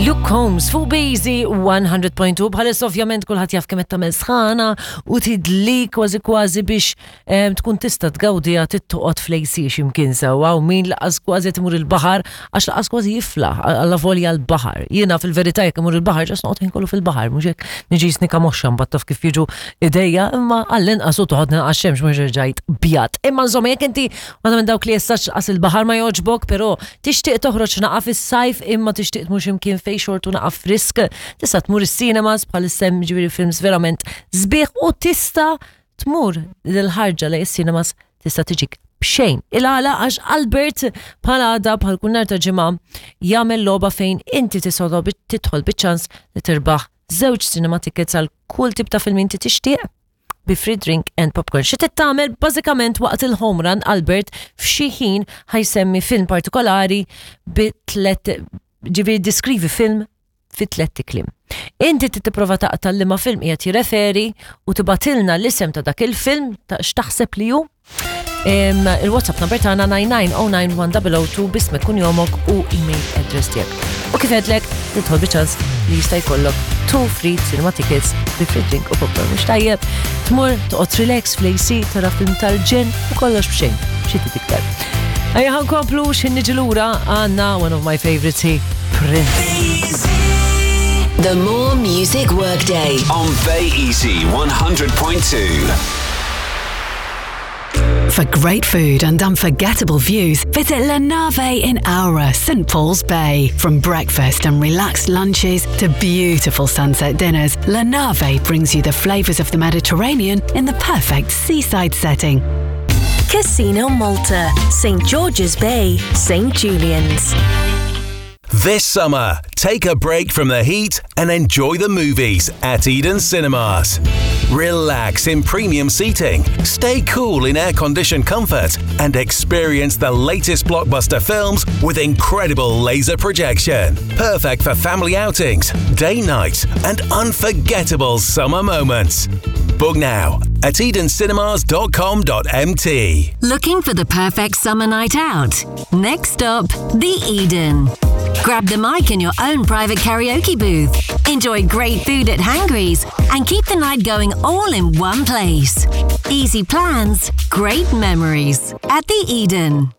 Luke Combs fuq Bazy 100.2 bħalissa ovvjament kulħadd jaf kemm qed tagħmel sħana u tidli kważi kważi biex tkun tista' tgawdiha tittoqgħod fl-AC x'imkien sewwa u min laqas kważi qed imur il-baħar għax laqas kważi jiflaħ alla volja l-baħar. Jiena fil-verità jekk imur il-baħar ġas noqgħod ħin kollu fil-baħar mhux hekk niġi snika moxxa mbagħad taf kif jiġu idejja imma għall-inqas u toħodni naqas xemx mhux rġajt bjad. Imma insomma jekk inti waħda minn dawk li jessax qas il-baħar ma jogħġbok, però tixtieq toħroġ naqa' fis-sajf imma tixtieq tmur x'imkien fejn xortu naqa' frisk, tista' tmur is-cinemas bħalissa hemm ġifieri films verament sbieħ u tista' tmur l-ħarġa lejn is-cinemas tista' tiġik b'xejn. Il-għala għax Albert bħal għada bħal kull nhar ta' ġimgħa jagħmel logħba fejn inti tista' tidħol biċ-ċans li tirbaħ żewġ cinema tickets għal kull tip ta' film inti tixtieq bi free drink and popcorn. Xi trid tagħmel bażikament waqt il-home run Albert f'xi ħin ħajsemmi film partikolari bi tlet ġifieri diskrivi film fi tlett ikliem. Inti trid tipprova taqta' liema film qiegħed jirreferi u tibatilna l-isem ta' dak il-film ta' x'taħseb li hu. Il-WhatsApp number tagħna 9909102 bismek kunjomok u email address tiegħek. U kif għedlek, tidħol biċ-ċans li jista' jkollok two free cinema tickets bi free drink u popcorn mhux tajjeb. Tmur toqgħod relax fl-AC tara film tal-ġen u kollox b'xejn. Xi trid iktar. Ejja ħa nkomplu x'ħin niġi lura għandna one of my favorites hi Prince. The More Music Workday. On Bay Easy 100.2. For great food and unforgettable views, visit La Nave in Aura, St. Paul's Bay. From breakfast and relaxed lunches to beautiful sunset dinners, La Nave brings you the flavors of the Mediterranean in the perfect seaside setting. Casino Malta, St. George's Bay, St. Julian's. This summer, take a break from the heat and enjoy the movies at Eden Cinemas. Relax in premium seating, stay cool in air-conditioned comfort, and experience the latest blockbuster films with incredible laser projection. Perfect for family outings, day nights, and unforgettable summer moments. Book now at edencinemas.com.mt. Looking for the perfect summer night out? Next stop, the Eden. Grab the mic in your own private karaoke booth. Enjoy great food at Hangry's and keep the night going all in one place. Easy plans, great memories at the Eden.